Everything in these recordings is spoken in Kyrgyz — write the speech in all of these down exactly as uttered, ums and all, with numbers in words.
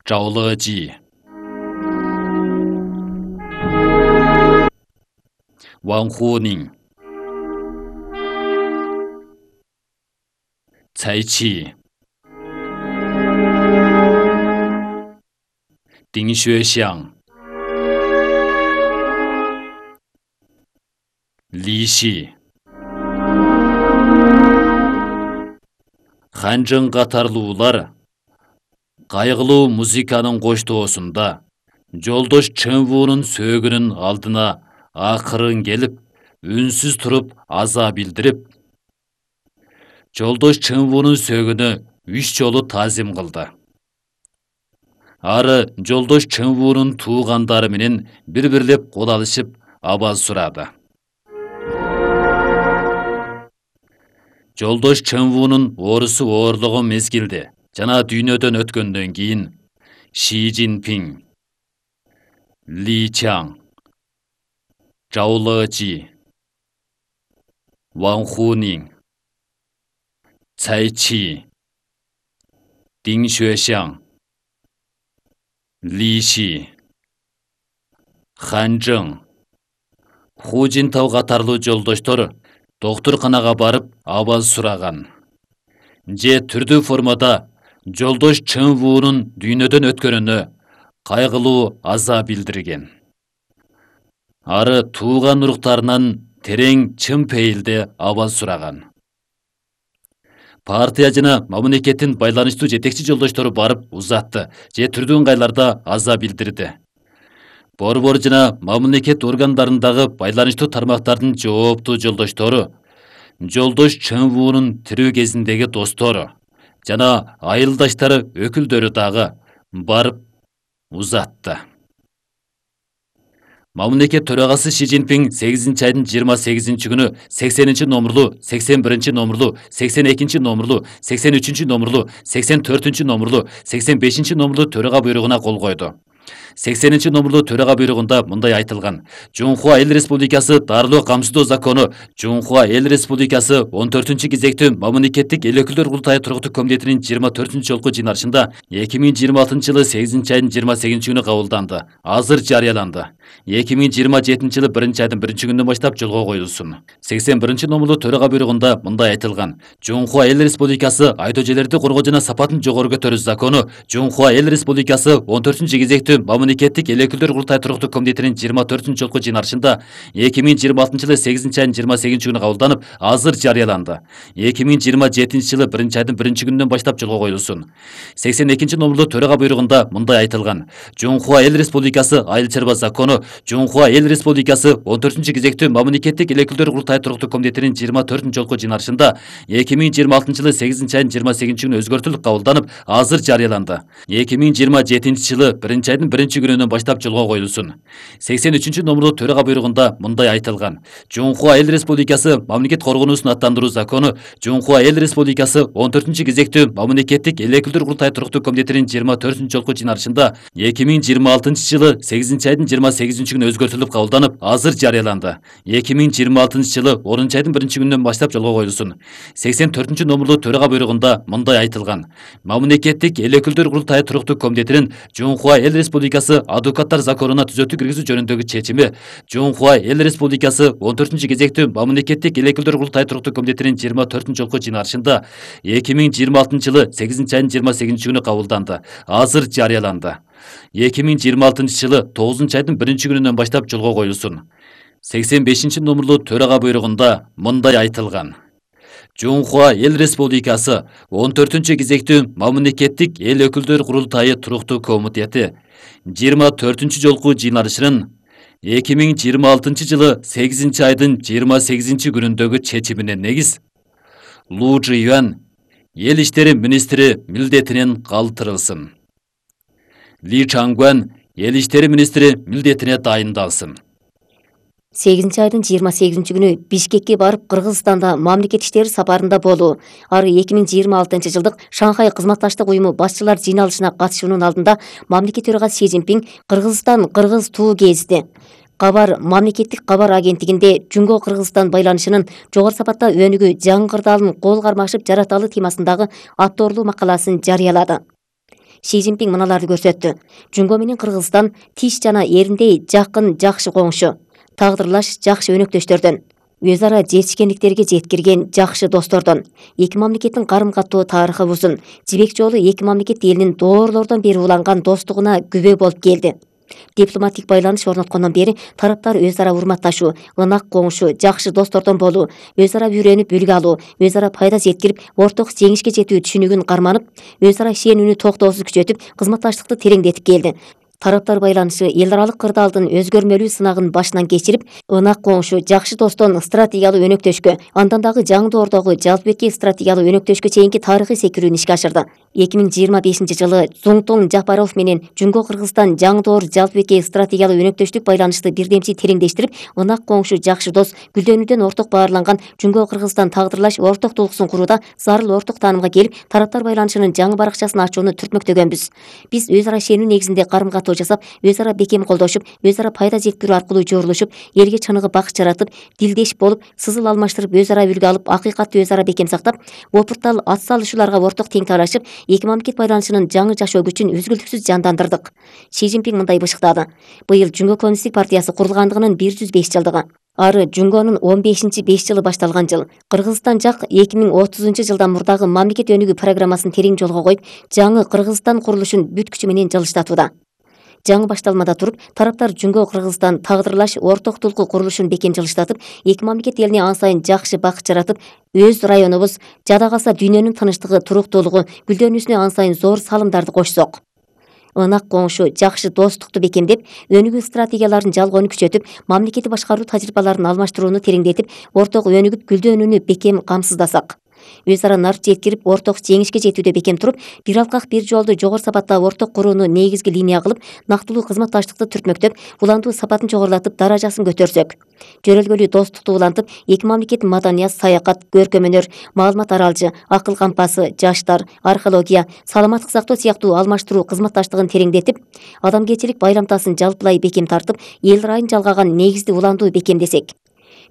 Жаулыжи Ванхунин Цайчи Диншуэшян Лиши Ханжың катарлуулар кайгылуу музыканын коштоосунда Жолдош Чынвуунун сөөгүнүн алдына акырын келип, үнсүз туруп аза билдирип, Жолдош Чынвуунун сөөгүнө үч жолу тазим кылды. Ары Жолдош Чынвуунун туугандары менен бири-бирлеп кол алышып, абал сурады. Жолдош Чынвуунун оорусу оорлогон мезгилде жана дүйнөдөн өткөндөн кийин Ши Цзиньпин, Ли Чаң, Жаулыжи, Ванхунин, Цайчи, Диншуэшян, Лиши, Ханжың, Ху Жинтау катарлуу жолдоштор доктурканага барып абал сураган. Же түрдүү формада Жолдош Чынвуунун дүйнөдөн өткөнүнө кайгылуу аза билдирген. Ары тууган уруктарынан терең чын пейилде абал сураган. Партия жана мамлекеттин байланыштуу жетекчи жолдоштору барып узатты, же түрдүү ыңгайларда аза билдирди. Борбор жана мамлекет органдарындагы байланыштуу тармактардын жооптуу жолдоштору, Жолдош Чынвуунун тирүү кезиндеги достору жана айылдаштары өкүлдөрү дагы барып узатты. Мамлекет төрагасы Ши Цзиньпин сегизинчи айдын жыйырма сегизинчи күнү сексенинчи номурлуу, сексен биринчи номурлуу, сексен экинчи номурлуу, сексен үчүнчү номурлуу, сексен төртүнчү номурлуу, сексен бешинчи номурлуу төрага буйругуна кол койду. сексенинчи номурлуу төрага буйругунда мындай айтылган: Жунхуа Эл Республикасы дарылоо камсыздоо закону Жунхуа Эл Республикасы он төртүнчү кезектүү мамлекеттик эл өкүлдөр курултайы туруктуу комитетинин жыйырма төртүнчү жолку жыйналышында эки миң жыйырма алтынчы жылы сегизинчи айдын жыйырма сегизинчи күнү кабылданды. Азыр жарыяланды. эки миң жыйырма жетинчи жылы биринчи айдын биринчи күнүнөн баштап жолго коюлсун. сексен биринчи номурлуу төрага буйругунда мындай айтылган: Жунхуа Эл Республикасы айдоо жерлерди коргоо жана сапатын жогору көтөрүү закону Жунхуа Эл Республикасы он төртүнчү кезектүү мамлекеттик эл өкүлдөр курултайы туруктуу комитетинин жыйырма төртүнчү жолку жыйналышында эки миң жыйырма алтынчы жылы сегизинчи айдын жыйырма сегизинчи күнү кабылданып, азыр жарыяланды. эки миң жыйырма жетинчи жылы биринчи айдын биринчи күнүнөн баштап жолго коюлсун. сексен экинчи номурлуу төрага буйругунда мындай айтылган: Жунхуа Эл Республикасы айыл чарба закону Жунхуа Эл Республикасы он төртүнчү кезектүү мамлекеттик эл өкүлдөр курултайы туруктуу комитетинин жыйырма төртүнчү жолку жыйналышында эки миң жыйырма алтынчы жылы сегизинчи айдын жыйырма сегизинчи күнү өзгөртүлүп кабылданып, азыр жарыяланды. эки миң жыйырма жетинчи жылы биринчи айдын биринчи күнүнөн баштап жолго коюлсун. сексен үчүнчү номурлуу төрага буйругунда мындай айтылган: Жунхуа Эл Республикасы мамлекет коргоонуусун аттандыруу закону Жунхуа Эл Республикасы он төртүнчү кезектүү мамлекеттик эл өкүлдөр курултайы туруктуу комитетинин жыйырма төртүнчү жолку жыйналышында эки миң жыйырма алтынчы жылы сегизинчи айдын жыйырма сегизинчи күнү өзгөртүлүп кабылданып, азыр жарыяланды. эки миң жыйырма алтынчы жылы онунчу айдын биринчи күнүнөн баштап жолго коюлсун. сексен төртүнчү номурлуу төрага буйругунда мындай айтылган: Мамлекеттик эл өкүлдөр курултайы туруктуу комитетинин Жунхуа Эл Республикасы адвокаттар законуна түзөтүү киргизүү жөнүндөгү чечими Жунхуа Эл Республикасы он төртүнчү кезектүү мамлекеттик эл өкүлдөр курултайы туруктуу комитетинин жыйырма төртүнчү жолку жыйналышында эки миң жыйырма алтынчы жылы сегизинчи айдын жыйырма сегизинчи күнү кабылданды. Азыр жарыяланды. эки миң жыйырма алтынчы жылы тогузунчу айдын биринчи күнүнөн баштап жолго коюлсун. сексен бешинчи номурлуу төрага буйругунда мындай айтылган: Жунхуа Эл Республикасы он төртүнчү кезектүү мамлекеттик эл өкүлдөр курултайы туруктуу комитети жыйырма төртүнчү жолку жыйналышынын эки миң жыйырма алтынчы жылы сегизинчи айдын жыйырма сегизинчи күнүндөгү чечимине негиз Лу Чжиюань эл иштери министри милдетинен калтырылсын. Ли Чангуан эл иштери министри милдетине дайындалсын. сегизинчи айдын жыйырма сегизинчи күнү Бишкекке барып Кыргызстанда мамлекет иштери сапарында болуу. Ары эки миң жыйырма алтынчы жылдык Шанхай кызматташтык уюму башчылар жыйналышына катышуунун алдында мамлекет төрагасы Ши Цзиньпин Кыргызстан кыргыз туу кезди. Кабар мамлекеттик кабар агенттигинде Жунго Кыргызстан байланышынын жогору сапатта өнүгүү жаңы кырдаалын кол кармашып жараталы темасындагы атоорлуу макаласын жарыялады. Си Цзиньпин мыналарды көрсөттү. Жунго менен Кыргызстан тиш жана эриндей жакын, жакшы коңшу, тагдырлаш жакшы өнөктөштөрдөн, өз ара жетишкендиктерге жеткирген жакшы достордон. Эки мамлекеттин карым каттоо тарыхы узун. Жибек жолу эки мамлекет элинин доорлордон бери уланган достугуна күбө болуп келди. Дипломатик байланыш орноткондон бери тараптар өз ара урматташуу, ынак коңшу, жакшы достордон болуу, өз ара үйрөнүп үлгү алуу, өз ара пайда жеткирип, орток жеңишке жетүү түшүнүгүн карманып, өз ара ишенүүнү токтоосуз күчөтүп, кызматташтыкты тереңдетип келди. Тараптар байланышы эл аралык кырдаалдын өзгөрмөлүү сынагын башынан кечирип, ынак коңшу, жакшы достон стратегиялуу өнөктөшкө, андан дагы жаңы доордогу жалпыбекке стратегиялуу өнөктөшкө чейинки тарыхый секирүүнү ишке ашырды. эки миң жыйырма бешинчи жылы Зуңтоң Жапаров менен Жунго Кыргызстан жаңы доор жалпыбекке стратегиялуу өнөктөштүк байланышты бирдемчи тереңдештирип, ынак коңшу, жакшы дос, гүлдөнүүдөн орток баарланган Жунго Кыргызстан тагдырлаш орток тулкуусун курууда зарыл орток таанымга келип, тараптар байланышынын жаңы баракчасын ачууну түртмөктөгөнбүз. Биз өз ара ишенүү негизинде карым каттоо жасап, өз ара бекем колдошуп, өз ара пайда жеткирүү аркылуу жорулушуп, элге чыныгы бакыт жаратып, дилдеш болуп, сызыл алмаштырып, өз ара үлгү алып, акыйкатты өз ара бекем сактап, опуртал ат салышууларга орток тең талашып, эки мамлекет байланышынын жаңы жашоо күчүн үзгүлтүксүз жандандырдык. Си Цзиньпин мындай бышыктады. Быйыл Жунго коммунисттик партиясы курулгандыгынын бир жүз беш жылдыгы. Ары Жунгонун он бешинчи беш жылы башталган жыл. Кыргызстан жак эки миң отузунчу жылдан мурдагы мамлекет өнүгүү программасын терең жолго коюп, жаңы Кыргызстан курулушун бүт күчү менен жылыштатууда. Жаңы башталмада туруп, тараптар Жунго Кыргызстан тагдырлаш орток тулкуу курулушун бекем жылыштатып, эки мамлекет элине ан сайын жакшы бакыт жаратып, өз районубуз, жада калса дүйнөнүн тынычтыгы, туруктуулугу, гүлдөнүүсүнө ан сайын зор салымдарды кошсок. Ынак коңшу, жакшы достукту бекемдеп, өнүгүү стратегияларын жалгоону күчөтүп, мамлекетти башкаруу тажрыйбаларын алмаштырууну тереңдетип, орток өнүгүп, гүлдөнүүнү бекем камсыздасак. Өз ара нарт жеткирип, орток жеңишке жетүүдө бекем туруп, бир алкак бир жолду жогору сапаттагы орток курууну негизги линия кылып, нактылуу кызматташтыкты түртмөктөп, уландуу сапатын жогорулатып, даражасын көтөрсөк. Жөрөлгөлүү достукту улантып, эки мамлекеттин маданият, саякат, көркөм өнөр, маалымат аралжы, акыл кампасы, жаштар, археология, саламаттык сактоо сыяктуу алмаштыруу кызматташтыгын тереңдетип, адамгерчилик байламтасын жалпылай бекем тартып, эл ырайын жалгаган негизди уландуу бекемдесек.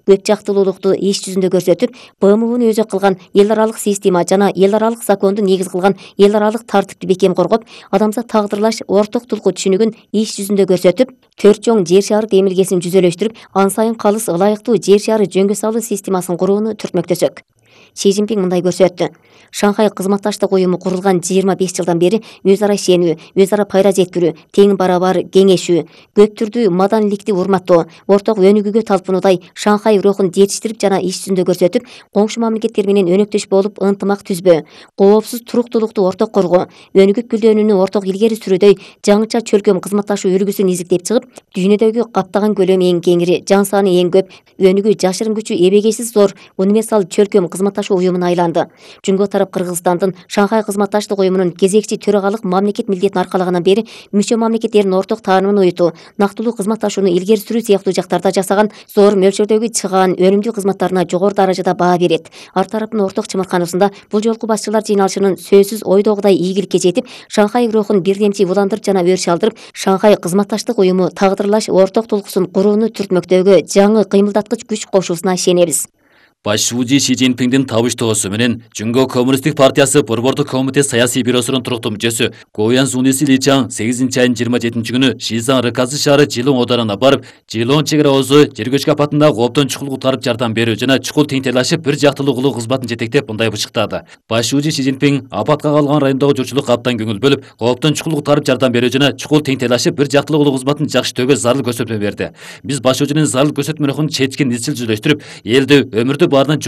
Көп жактылуулукту иш жүзүндө көрсөтүп, Б М Уну өзү кылган эл аралык система жана эл аралык законду негиз кылган эл аралык тартипти бекем коргоп, адамзат тагдырлаш орток тулкуу түшүнүгүн иш жүзүндө көрсөтүп, төрт чоң жер шары демилгесин жүзөлөштүрүп, ан сайын калыс ылайыктуу жер шары жөнгө салуу системасын курууну түртмөктөсөк. Си Цзиньпин мындай көрсөттү. Шанхай кызматташтык уюму курулган жыйырма беш жылдан бери өз ара ишенүү, өз ара пайда жеткирүү, тең барабар кеңешүү, көп түрдүү маданиликти урматтоо, орток өнүгүүгө талпынуудай Шанхай рухун жетиштирип жана иш жүзүндө көрсөтүп, коңшу мамлекеттер менен өнөктөш болуп ынтымак түзбөө, коопсуз туруктуулукту орток коргоо, өнүгүп гүлдөнүүнү орток илгери сүрүүдөй жаңыча чөлкөм кызматташуу үлгүсүн изилдеп чыгып, дүйнөдөгү каптаган көлөмү эң кеңири, жан саны эң көп, өнүгүү жашырын күчү эбегейсиз зор универсал чөлкөм кызматташуу уюмуна айланды. Жунго тарап Кыргызстандын Шанхай кызматташтык уюмунун кезекчи төрагалык мамлекет милдетин аркалагандан бери мүчө мамлекеттердин орток таанымын уютуу, нактылуу кызматташууну илгери сүрүү сыяктуу жактарда жасаган зор мөлчөрдөгү чыгаан өнүмдүү кызматтарына жогору даражада баа берет. Ар тараптын орток чымыркануусунда бул жолку башчылар жыйналышынын сөзсүз ойдогудай ийгиликке жетип, Шанхай рухун бирдемчи уландырып жана өрүш алдырып, Шанхай кызматташтык уюму тагдырлаш орток тулкуусун курууну түртмөктөгө жаңы кыймылдаткыч күч кошуусуна ишенебиз. Башчыбыжы Си Цзиньпиндин табыштоосу менен Жунго коммунисттик партиясы Борбордук комитет саясий бюросунун туруктуу мүчөсү Гоян Зуниси Личаң сегизинчи айдын жыйырма жетинчи күнү Шизан Рыказы шаары Жылоң оодарына барып, Жылоң чек ара озу жер көчкү апатында кооптон чукул куткарып жардам берүү жана чукул теңтелашып бир жактылуу кылуу кызматын жетектеп мындай бышыктады. Башчыбыжы Си Цзиньпин апатка калган райондогу журтчулукка абдан көңүл бөлүп, кооптон чукул куткарып жардам берүү жана чукул теңтелашып бир жактылуу кылуу кызматын жакшытөөгө зарыл көрсөтмө берди. Биз башчыбыжынын зарыл көрсөтмө рухун четкин изчил жүзөлөштүрүп, элди өмүрдү баарынан